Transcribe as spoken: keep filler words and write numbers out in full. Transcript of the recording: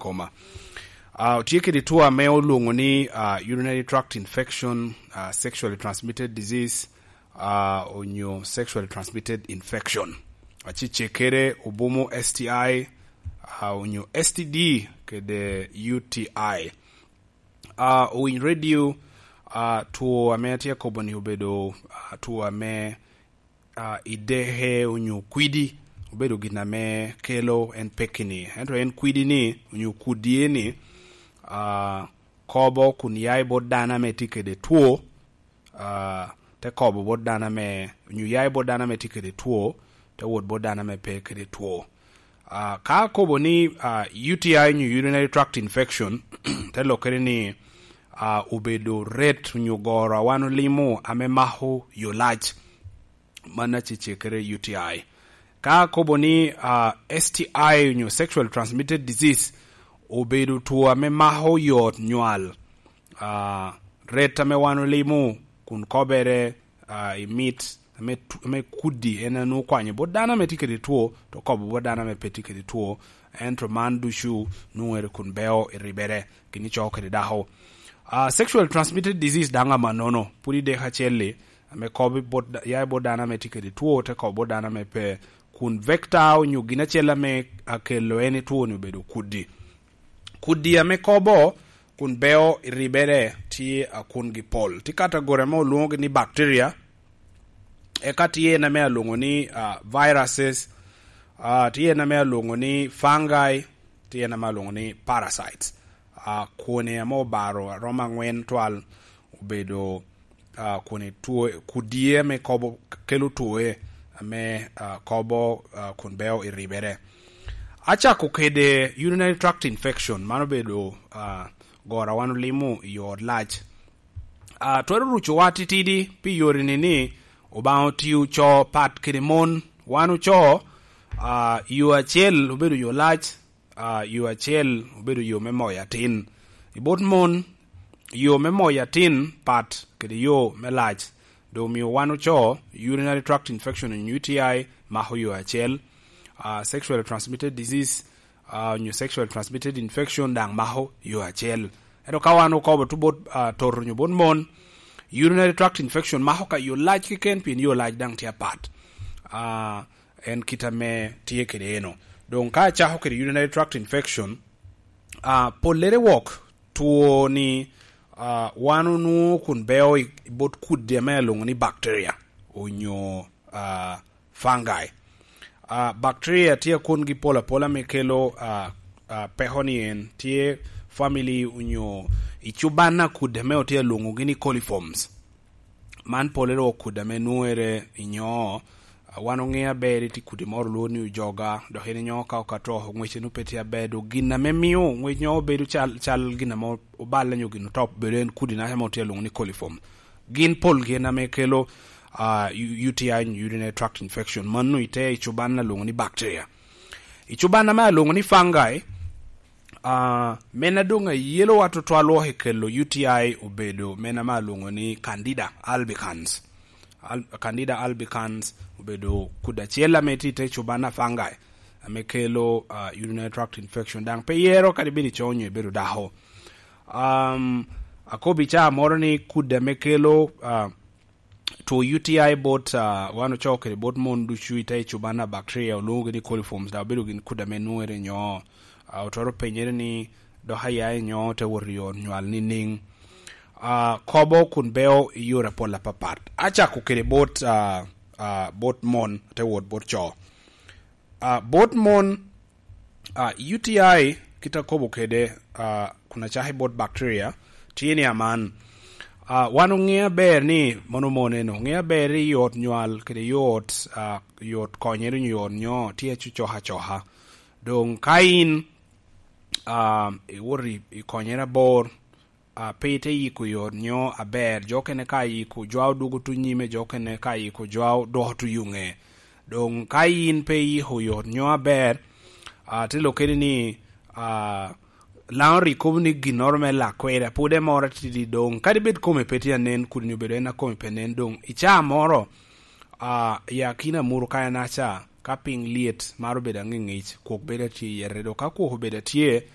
koma. Uh, otye kede two ame olwoŋo ni uh, urinary tract infection, uh, sexually transmitted disease, uh, onyo sexually transmitted infection. Acicekere obumo S T I, uh, onyo S T D kede U T I. Uh, owiny radio, uh, two ame atye kobo ni obedo uh, two ame uh, ideke onyo kwidi obedo gin ame kelo en pekki-ni. Ento en kwidi-ni onyo kudi-ni uh, kobo kun ya i bot dano ame tye kede two, uh, te kobo bot dano ame, onyo ya i bot dano ame tye kede two, te wot bot dano ame pe kede two. Uh, ka akobo ni uh, U T I onyo urinary tract infection, te lokere ni uh, obedo ret onyo goro a wan olimo ame mako yo lac, man acecekere U T I. Ka akobo ni uh, S T I onyo sexual transmitted disease, obedo two ame mako yot nywal, uh, ret ame wan olimo kun kobere uh, i mit ame, ame kudi en anwo kwanyo bot dano ame tye kede two, to kobo bot dano ame pe tye kede two, ento man ducu nwere kun beo i ribere kini coo kede dako. Uh, sexual transmitted disease daŋ amanono, pud idek acel-li, ame kobo bot, ya i bot dano ame tye kede two, te kobo bot dano ame pe, kun vector onyo gin acel ame akelo en i two-ni obedo kudi. Kudi ame kobo kun beo i ribere tye a kungi pol. Tye category ame olwoŋogi ni bacteria, eka tye en ame alwoŋo ni uh, viruses, uh, tye en ame alwoŋo ni fungi, tye en ame alwoŋo ni parasites. Uh, kwone ame obaro aromo aŋwen twal obedo uh, kun itwo kudi ame kobo kelo twoe ame uh, kobo uh, kun beo i ribere. Acako kede urinary tract infection, man obedo uh, gora wan olimo i ot lac. Uh, twero rucowa titidi pi yore ni ni Obaŋa otio co pat kede mon. Wan oco uh, yo acel obedo yo lac, uh, yo acel obedo yo me moyo atin. I bot mon, yo me moyo atin pat kede yo me lac. Doŋ omio wan oco urinary tract infection onyo U T I mako yo acel. Uh, sexually transmitted disease uh, onyo sexually transmitted infection daŋ mako yo acel. Ento ka wan okobo to bot uh, toto onyo bot mon, urinary tract infection mako ka yo lac keken pien yo lac daŋ tye apat. Uh, en kit ame tye kede eno. Doŋ ka acako kede urinary tract infection, uh, pollere wok two ni uh, wan onwoŋo kun beo i bot kudi ame alwoŋo ni bacteria onyo uh, fungi. Uh, bacteria tye akungi pol apola me kelo uh, uh, peko ni en tye family onyo i cuban a kudi ame otye alwoŋogi ni coliforms. Man pole ro kudi ame nwere i nyoo. Uh, wan oŋe aber iti kudi moro lwor ni ojoga, dok en inyoo ka okato, ŋwece nu pe tye aber, dok gin ame mio ŋwec nyoo obedo cal, cal gin ame oballe nyo gin otop, bedo en kudi naca mo tye alwoŋo ni coliform. Gin pol gin ame kelo uh, U T I, urinary tract infection, mano ite i cuban alwoŋo ni bacteria. I cuban ame alwoŋo ni fungi, uh, men adoŋ ayelowa tutwal wok i kelo U T I obedo men ame alwoŋo ni candida albicans. Al, candida albicans obedo kudi acel ame tye i te cuban a fungi ame kelo uh, urinary tract infection, daŋ pe yero kadi bed ico nyo ibedo dako. Um, akobo i caa moro ni kudi ame kelo uh, two U T I bot uh, wan ocoo kede bot mon ducu i te cuban a bacteria olwoŋogi ni coliforms, dok obedo gin kudi ame nwere nyo uh, otoro penyere ni dok aya i nyo te wot i ot nywal ni niŋ. Uh, kobo kun beo i yore apol apapat. Acako kede bot uh, uh, bot mon te wot bot coo. Uh, bot mon, uh, U T I kit akobo kede uh, kun acako i bot bacteria tye ni aman. Uh, wan oŋe aber ni mono mon eno oŋe aber ni yot nywal kede yot uh, yot konyere nyo yot nyo tye acucok acoka. Doŋ ka in uh, iwot i- ikonyere abor, uh, pe ite yiko yot nyo aber, jo kene ka yiko jwa odwogo tu nyime, jo kene ka yiko jwa odwoko tu yuŋe. Doŋ ka in pe iyiko yot nyo aber, uh, te lokere ni uh, Laŋo rik kobo ni ginnoro me lak kwede, pwod emoro atidi doŋ. Kadi bed kome pe tye anen, kudi ni obedo en a kome pe nen doŋ. I caa moro, uh, i akina muru ka en aca, ka piny lyet, maro bedo aŋiŋic, kwok bedo atye i yete. Dok ka kwok obedo atye,